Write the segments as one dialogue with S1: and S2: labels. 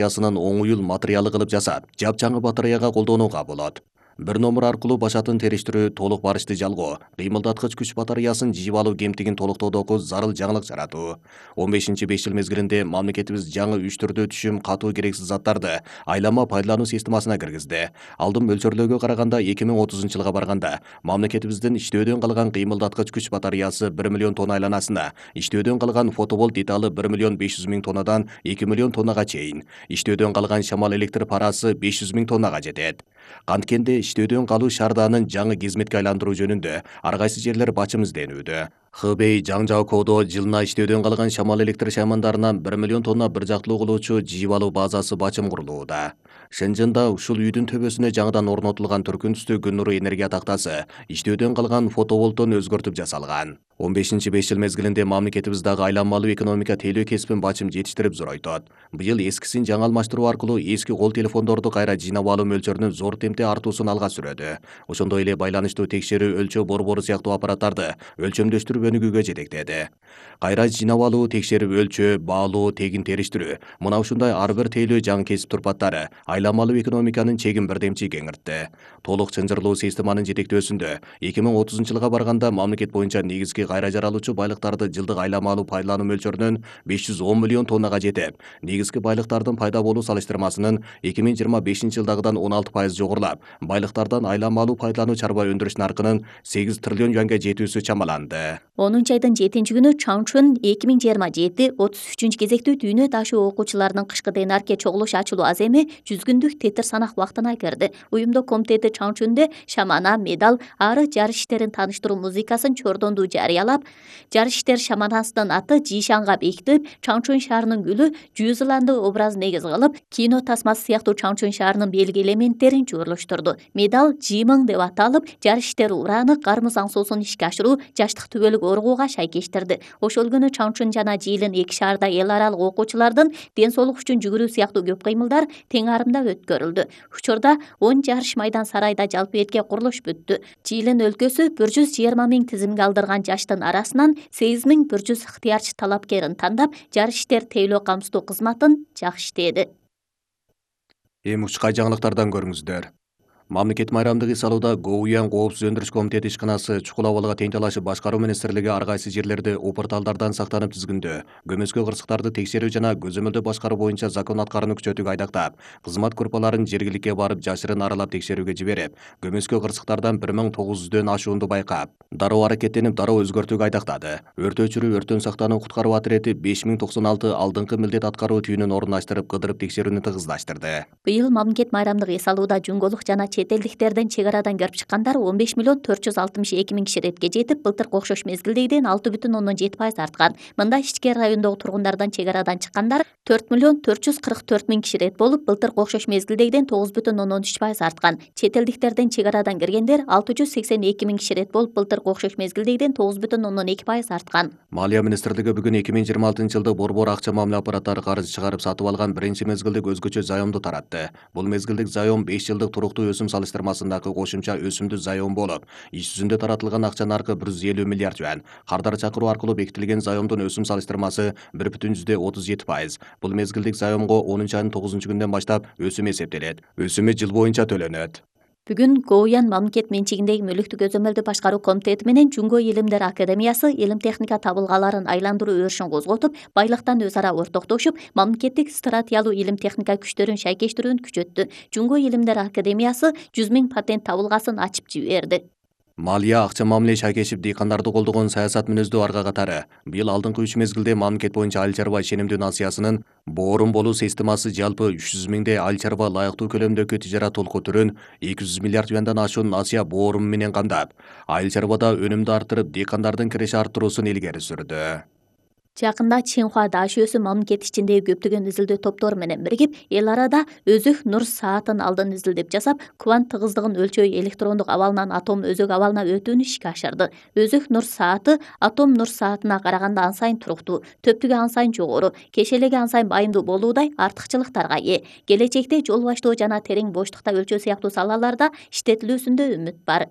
S1: оң уюл материалы кылып жасап, жапжаңы батареяга колдонууга болот. Бир номер аркылуу башатын териштирүү, толук барышты жалгоо, кыймылдаткыч күч батареясын жыйып алуу кемтигин толуктоодогу зарыл жаңылык жаратуу. 15-5 жыл мезгилинде мамлекетибиз жаңы 3 түрдүү түшүм катуу керексиз заттарды айлама пайдалануу системасына киргизди. Алдын мөлчөрлөөгө караганда 2030 жылга барганда мамлекетибиздин иштөөдөн калган кыймылдаткыч күч батареясы 1 миллион тонна айланасына, иштөөдөн калган фотоволт деталы 1 миллион 500 миң тоннадан 2 миллион тоннага чейин, иштөөдөн калган шамал электр парасы 500 миң тоннага жетет. Канткенде иштөөдөн калуу шаардаанын жаңы кызметке айландыруу жөнүндө ар кайсы жерлер бачым изденүүдө. Хбей Жаңжаокоодо жылына иштөөдөн калган шамал электр шаймандарынан 1 миллион тонна бир жактылуу кылуучу жыйып алуу базасы бачым курулууда. Шенженда ушул үйдүн төбөсүнө жаңыдан орнотулган түркүн түстүү күн нуру энергия тактасы иштөөдөн калган фотоволттон өзгөртүп жасалган. 15-5 жыл мезгилинде мамлекетибиз дагы айланмалуу экономика тейлөө кесибин бачым жетиштирип зоройтот. Быйыл эскисин жаңы алмаштыруу аркылуу эски кол телефондорду кайра жыйнап алуу мөлчөрүнүн зор темпте артуусун алга сүрөдү. Ошондой эле байланыштуу текшерүү, өлчөө борбору сыяктуу аппараттарды өлчөмдөштүрүп өнүгүүгө жетектеди. Кайра жыйнап алуу, текшерип өлчөө, баалоо, тегин териштирүү, мына ушундай ар бир тейлөө жаңы кесип турпаттары айланмалуу экономиканын чегин бирдемчи кеңиртти. Толук чынжырлуу системанын жетектөөсүндө 2030 жылга барганда мамлекет боюнча негизги кайра жаралуучу байлыктарды жылдык айланмалуу пайдалануу мөлчөрүнөн 510 миллион тоннага жетип, негизги байлыктардын пайда болуу салыштырмасынын 2025 жылдагыдан 16% жогорулап, байлыктардан айланмалуу пайдалануу чарба өндүрүш наркынын 8 триллион юанга жетүүсү чамаланды.
S2: 10 айдын 7-күнү Чаңчун 2027-33 кезектүү дүйнө ташуу окуучуларынын кышкы ДНРК чогулуш ачылуу аземи 100 күндүк тетир санак убактына кирди. Уюмдук комитети Чаңчунде шамана, медал, ары жарыш иштерин тааныштыруу музыкасын чордонду жарыялап, жарыш иштер шаманасынын аты Жишанга бекитип, Чаңчун шаарынын гүлү Жуузеландия образын негиз кылып, кино тасмасы сыяктуу Чаңчун шаарынын белги элементтерин жуурулуштурду. Медал Жимың деп аталып, жарыш иштери ураны кармыз аңсоосун ишке ашыруу, жаштык түбөлүк оргууга шайкештирди. Ошол күнү Чаңчун жана Жиилин эки шаарда эл аралык окуучулардын ден соолук үчүн жүгүрүү сыяктуу көп кыймылдар тең арымда өткөрүлдү. Учурда 10 жарыш майдан сарайда жалпы этке курулуш бүттү. Жиилин өлкөсү 120 миң тизимге алдырган жаштын арасынан 8100 ыктыярчы талапкерин тандап, жарыш иштер тейлөө камсыздоо кызматын жакшы иштеди.
S1: Эми учкай жаңылыктардан көрүңүздөр. Мамлекет майрамдык ис алууда ГОУЯН Коопсуз өндүрүш комитети ишканасы чукул абалга тең талашып башкаруу министрлиги ар кайсы жерлерде упурталдардан сактанып тизгиндөө, көмөскө кырсыктарды текшерүү жана көзөмөлдөө башкаруу боюнча закон аткарууну күчөтүүгө айдактап, кызмат группаларын жергиликке барып жашырын аралап текшерүүгө жиберип, көмөскө кырсыктардан 1900дөн ашуунду байкап, дароо аракеттенип, дароо өзгөртүүгө айдактады. Өрт өчүрүү, өрттөн сактануу, куткаруу отирети 5096 алдыңкы милдет аткаруу түйүнүн орундаштырып, кыдырып текшерүүнү тыгыздаштырды.
S2: Быйыл мамлекет майрамдык эс алууда жумголук жана чет элдиктерден чек арадан кирип чыккандар 15 миллион 462 миң киши иретке жетип, былтыркы окшош мезгилдегиден 6,7% арткан. Мында ички райондогу тургундардан чек арадан чыккандар 4 миллион 444 миң киши ирет болуп, былтыркы окшош мезгилдегиден 9,3% арткан. Чет элдиктерден чек арадан киргендер 682 миң киши ирет болуп, былтыркы окшош мезгилдегиден 9,2% арткан.
S1: Малия министрлиги бүгүн 2026 жылда борбор акча мамиле аппараттары карыз чыгарып сатып алган биринчи мезгилдик өзгөчө заемду таратты. Бул мезгилдик заем 5 жылдык туруктуу өсүм салыштырмасындагы кошумча өсүмдүү заем болуп, иш жүзүндө таратылган акча наркы 150 миллиард юан. Кардар чакыруу аркылуу бекитилген заемдун өсүм салыштырмасы 1,37%. Бул мезгилдик заемго 10 айдын 9-күндөн баштап өсүм эсептелет. Өсүмү жыл боюнча төлөнөт.
S2: Бүгүн ГОУЯН мамлекет менчигиндеги мүлүктү көзөмөлдөө башкаруу комитети менен Жунго Илимдер Академиясы илим техника табылгаларын айландыруу өрүшүн козготуп, байлыктан өз ара ортоктошуп, мамлекеттик стратегиялуу илим техника күчтөрүн шайкештирүүнү күчөттү. Жунго Илимдер Академиясы 100 миң патент табылгасын ачып жиберди.
S1: Малия акча мамиле шайкешип дыйкандарды колдогон саясат мүнөздүү арга катары быйыл алдыңкы 3 мезгилде мамлекет боюнча айыл чарба ишенимдүү насыясынын боорун болуу системасы жалпы 300 миңдей айыл чарба лайыктуу көлөмдөгү тижарат толку түрүн 200 миллиард юандан ашуун насыя боорун менен камдап, айыл чарбада өнүмдү арттырып, дыйкандардын киреше арттыруусун илгери сүрдү.
S2: Жакында Чинхуа Дашөөсү мамлекет ичиндеги көптөгөн изилдөө топтору менен биригип, эл арада өзүк нур саатын алдын изилдеп жасап, квант тыгыздыгын өлчөө электрондук абалынан атом өзөк абалына өтүүнү ишке ашырды. Өзүк нур сааты атом нур саатына караганда ан сайын туруктуу, төптүгү ан сайын жогору, кешелеги ан сайын байымдуу болуудай артыкчылыктарга ээ. Келечекте жол баштоо жана терең боштукта өлчөө сыяктуу салаларда иштетилүүсүндө үмүт бар.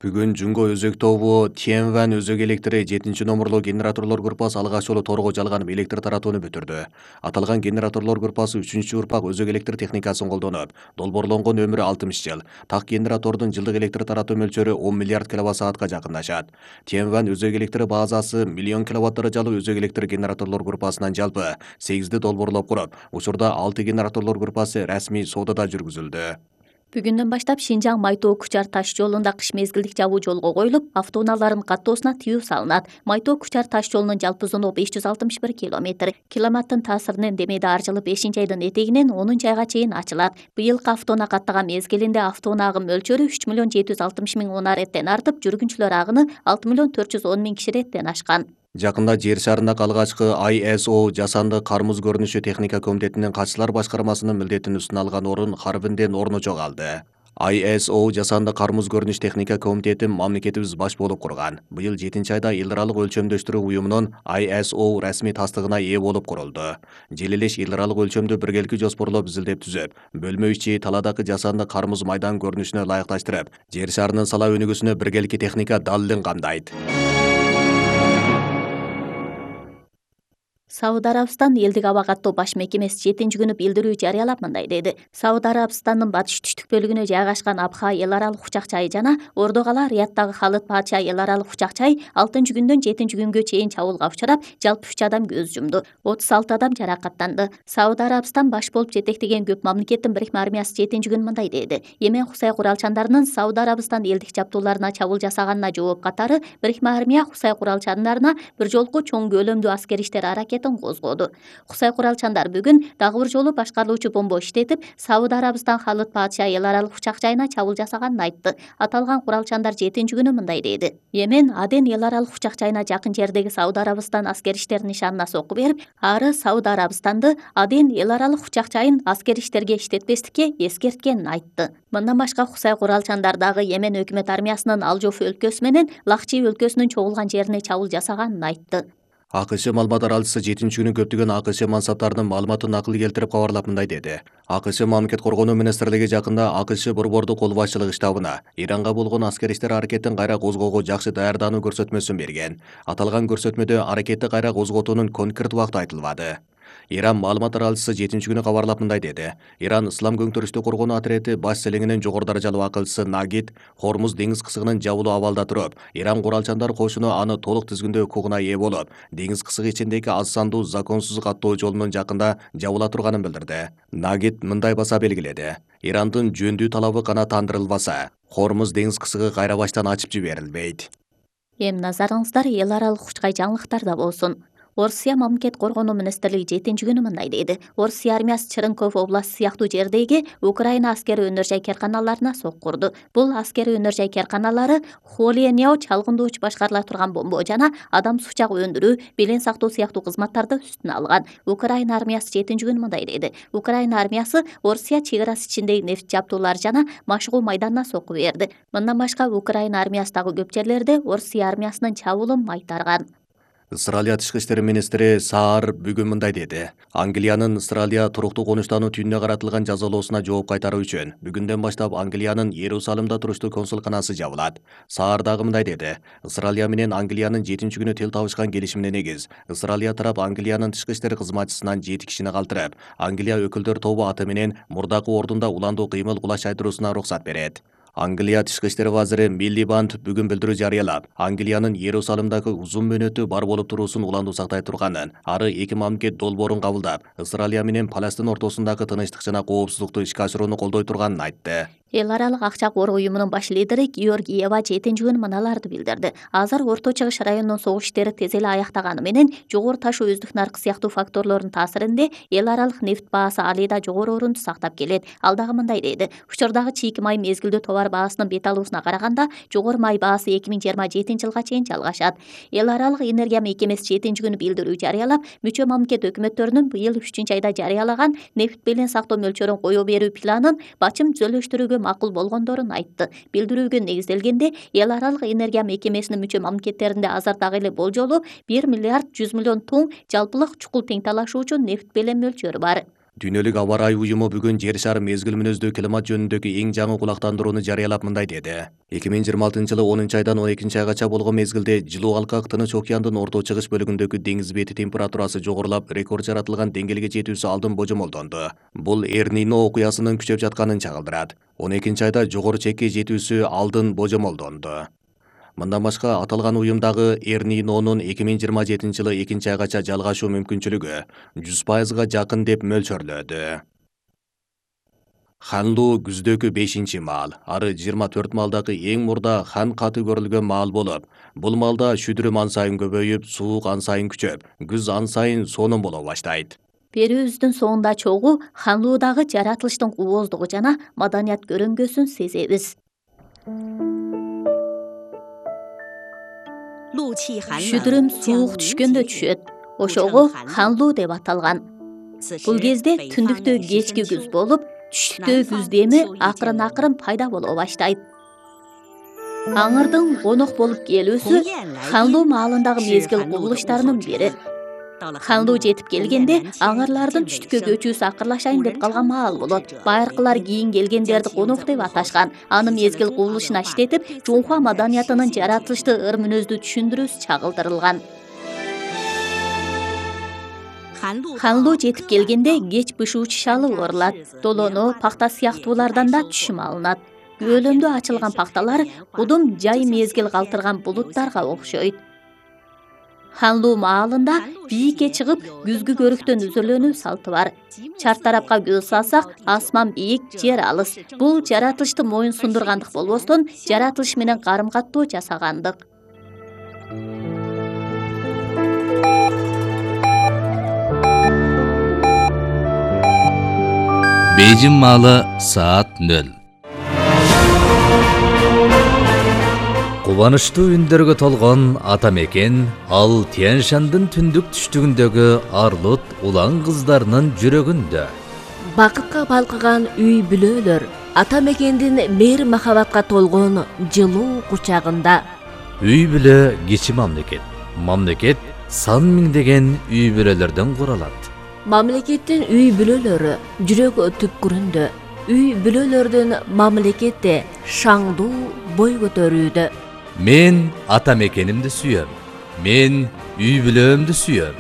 S1: Бүгүн Жунго өзөк тобу Тиенван өзөк электри 7-номурлуу генераторлор группасы алгач жолу торго жалганып электр таратууну бүтүрдү. Аталган генераторлор группасы 3-урпак өзөк электр техникасын колдонуп, долбоорлонгон өмүрү 60 жыл. Так генератордун жылдык электр таратуу мөлчөрү 10 миллиард киловатт-саатка жакындашат. Тиенван өзөк электр базасы миллион киловатт даражалуу өзөк электр генераторлор группасынан жалпы 8 долбоорлоп куруп, учурда 6 генераторлор группасы расмий соодада жүргүзүлдү.
S2: Бүгүндөн баштап Шинжаң Майтоо-Кучар таш жолунда кыш мезгилдик жабуу жолго коюлуп, автоунаалардын каттоосуна тыюу салынат. Майтоо-Кучар таш жолунун жалпы узундугу 561 километр. Климаттын таасиринен демейде ар жылы 5-айдын этегинен 10-айга чейин ачылат. Быйылкы автоунаа каттаган мезгилинде автоунаа агым мөлчөрү 3 миллион 760 миң унаа реттен артып, жүргүнчүлөр агыны 6 миллион 410 миң киши реттен ашкан.
S1: Жакында жер шарындагы алгачкы ISO жасанды кармуз көрүнүшү техника комитетинин катчылар башкармасынын милдетин үстүнө алган орун Харбинден орну жоголду. ISO жасанды кармуз көрүнүш техника комитетин мамлекетибиз баш болуп курган. Быйыл 7-айда эл аралык өлчөмдөштүрүү уюмунун ISO расмий тастыгына ээ болуп курулду. Жел элеш эл аралык өлчөмдү биргелки жоспорлоп изилдеп түзөп, бөлмө ичи таладагы жасанды кармуз майдан көрүнүшүнө ылайыкташтырып, жер шарынын сала өнүгүүсүнө биргелки техника далилин камдайт.
S2: Сауд Арабистан элдик аба каттоо баш мекемеси 7-күнү билдирүү жарыялап мындай деди. Сауд Арабистандын батыш түштүк бөлүгүнө жайгашкан Абха эл аралык учак чайы жана Ордогала Рияттагы Халыд Патша эл аралык учак чайы 6-күндөн 7-күнгө чейин чабуулга учурап, жалпы 3 адам көз жумду. 36 адам жаракаттанды. Сауд Арабистан баш болуп жетектеген көп мамлекеттин бирикме армиясы 7-күнү мындай деди. Йемен Хусай куралчандарынын Сауд Арабистан элдик жабдууларына чабуул жасаганына жооп катары бирикме армия Хусай куралчандарына бир жолку чоң көлөмдүү аскер иштер козгоду. Хусай куралчандар бүгүн дагы бир жолу башкарылуучу бомба иштетип, Сауд Арабистан Халыд Патша эл аралык учак жайына чабуул жасаганын айтты. Аталган куралчандар 7-күнү мындай деди. Йемен Аден эл аралык учак жайына жакын жердеги Сауд Арабистан аскер иштер нишанына сокку берип, ары Сауд Арабистанды Аден эл аралык учак жайын аскер иштерге иштетпестикке эскерткенин айтты. Мындан башка Хусай куралчандар дагы Йемен өкмөт армиясынын Алжоф өлкөсү менен Лахчи өлкөсүнүн чогулган жерине чабуул жасаганын айтты.
S1: АКШ маалымат аралчысы 7-күнү көптөгөн АКШ мансаптарынын маалыматын накыл келтирип кабарлап мындай деди. АКШ мамлекет коргонуу министрлиги жакында АКШ борбордук кол башчылык штабына Иранга болгон аскер иштер аракетин кайра козгоого жакшы даярдануу көрсөтмөсүн берген. Аталган көрсөтмөдө аракетти кайра козготуунун конкрет убакыты айтылбады. Иран маалымат аралчысы 7-күнү кабарлап мындай деди. Иран ислам көңтүрүштүү коргонуу отряды баш селеңинин жогору даражалуу акылчысы Нагид Хормуз деңиз кысыгынын жабылуу абалда туруп, Иран куралчандар кошуну аны толук тизгиндөө укугуна ээ болуп, деңиз кысыгы ичиндеги аз сандуу законсуз каттоо жолунун жакында жабыла турганын билдирди. Нагид мындай баса белгиледи. Ирандын жөндүү талабы канааттандырылбаса, Хормуз деңиз кысыгы кайра баштан ачып жиберилбейт.
S2: Эми назарыңыздар эл аралык учкай жаңылыктарда болсун. Орусия мамлекет коргонуу министрлиги 7-күнү мындай деди. Орусия армиясы Черенков областы сыяктуу жердеги Украина аскери өнөр жай керканаларына сокку урду. Бул аскери өнөр жай керканалары Холенео чалгындоочу башкарыла турган бомба жана адам сучак өндүрүү, белен сактоо сыяктуу кызматтарды үстүнө алган. Украина армиясы 7-күнү мындай деди. Украина армиясы Орусия чек арасы ичиндеги нефт жабдуулары жана машыгуу майданына сокку берди. Мындан башка Украина армиясы дагы көп жерлерде Орусия армиясынын чабуулун майтарган.
S1: Ысыралия тышкы иштер министри Саар бүгүн мындай деди. Англиянын Ысыралия туруктуу конуштануу түнүнө каратылган жазалоосуна жооп кайтаруу үчүн бүгүндөн баштап Англиянын Иерусалимда туруштуу консулканасы жабылат. Саар дагы мындай деди. Ысыралия менен Англиянын 7-күнү тил табышкан келишимине негиз Ысыралия тарап Англиянын тышкы иштер кызматчысынан 7 кишини калтырып, Англия өкүлдөр тобу аты менен мурдакы ордунда уландуу кыймыл кулаш айдыруусуна уруксат берет. Англия тышкы иштер вазири Миллибанд бүгүн билдирүү жарыялап, Англиянын Иерусалимдагы узун мөөнөттүү бар болуп туруусун уландуу сактай турганын, ары эки мамлекет долбоорун кабылдап, Ысыралия менен Палестин ортосундагы тынычтык жана коопсуздукту ишке ашырууну колдой турганын айтты.
S2: Эл аралык акча кор уюмунун баш лидери Георгиева 7-күнү мыналарды билдирди. Азыр Орто Чыгыш районунун согуш иштери тез эле аяктаганы менен жогору ташуу өздүк наркы сыяктуу факторлордун таасиринде эл аралык нефт баасы алыйда жогору орунду сактап келет. Ал дагы мындай дейди. Учурдагы чийки май мезгилдүү товар баасынын бет алуусуна караганда жогору май баасы 2027-жылга чейин жалгашат. Эл аралык энергия мекемеси 7-күнү билдирүү жарыялап, мүчө мамлекет өкмөттөрүнүн быйыл 3-айда жарыялаган нефт белен сактоо мөлчөрүн кое берүү планын бачым түзөлүштүрүүгө макул болгондорун айтты. Билдирүүгө негизделгенде эл аралык энергия мекемесинин мүчө мамлекеттеринде азыр дагы эле болжолу 1 миллиард 100 миллион тонн жалпылык чукул тең талашуучу нефт белен мөлчөрү бар.
S1: Дүйнөлүк аба ырайы уюму бүгүн жер шары мезгил мүнөздүү климат жөнүндөгү эң жаңы кулактандырууну жарыялап мындай деди. 2026-жылы 10-айдан 12-айгача болгон мезгилде жылуу алкак Тынч океандын орто чыгыш бөлүгүндөгү деңиз бети температурасы жогорулап, рекорд жаратылган деңгээлге жетүүсү алдын божомолдонду. Бул Эр-Нино окуясынын күчөп жатканын чагылдырат. 12-айда жогору чекке жетүүсү алдын божомолдонду. Мындан башка аталган уюмдагы Эр-Нинонун 2027-жылы 2-айгача жалгашуу мүмкүнчүлүгү 100%га жакын деп мөлчөрлөдү. Ханлуу күздөгү 5-маал, ары 24 маалдагы эң мурда хан каты көрүлгөн маал болуп, бул маалда шүдүрүм ан сайын көбөйүп, суук ан сайын күчөп, күз ан сайын сонун боло баштайт.
S2: Берүүбүздүн соңунда чогуу ханлуудагы жаратылыштын кубоздугу жана маданият көрөңгөсүн сезебиз. Шүдүрүм суук түшкөндө түшөт. Ошого ханлуу деп аталган. Бул кезде түндүктө кечки күз болуп, түштүктө күз деми акырын пайда боло баштайт. Аңырдын конок болуп келүүсү ханлуу маалындагы мезгил кубулуштарынын бири. Ханлуу жетип келгенде аңырлардын түштүккө көчүүсү акырлашайын деп калган маал болот. Байыркылар кийин келгендерди конок деп аташкан. Аны мезгил кубулушуна иштетип, Жунхва маданиятынын жаратылышты ыр мүнөздүү түшүндүрүүсү чагылдырылган. Ханлуу жетип келгенде кеч бышуучу шалы орулат. Долоно, пакта сыяктуулардан да түшүм алынат. Өлөмдө ачылган пакталар кудум жай мезгил калтырган булуттарга окшойт. Ханлуу маалында бийикке чыгып, күзгү көрүктөн үзүрлөнүү салты бар. Чарт тарапка көз салсак, асман бийик, жер алыс. Бул жаратылышты моюн сундургандык болбостон, жаратылыш менен карым-каттоо жасагандык.
S3: Бейжин маалы саат 0. Кубанычтуу үндөргө толгон ата мекен ал Тянь-Шандын түндүк түштүгүндөгү арлут улан кыздарынын жүрөгүндө.
S4: Бакытка балкыган үй бүлөлөр ата мекендин мээр махабатка толгон жылуу кучагында.
S3: Үй бүлө кичи мамлекет. Мамлекет сан миңдеген үй бүлөлөрдөн куралат.
S4: Мамлекеттин үй бүлөлөрү жүрөк түпкүрүндө. Үй бүлөлөрдүн мамлекетте шаңдуу бой көтөрүүдө.
S3: Мен ата мекенимди сүйөм. Мен үй бүлөөмдү сүйөм.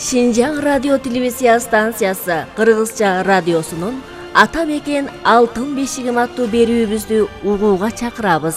S4: Шинжаң радио телевизия станциясы Кыргызча радиосунун Ата мекен алтын бешигим аттуу берүүбүздү угууга чакырабыз.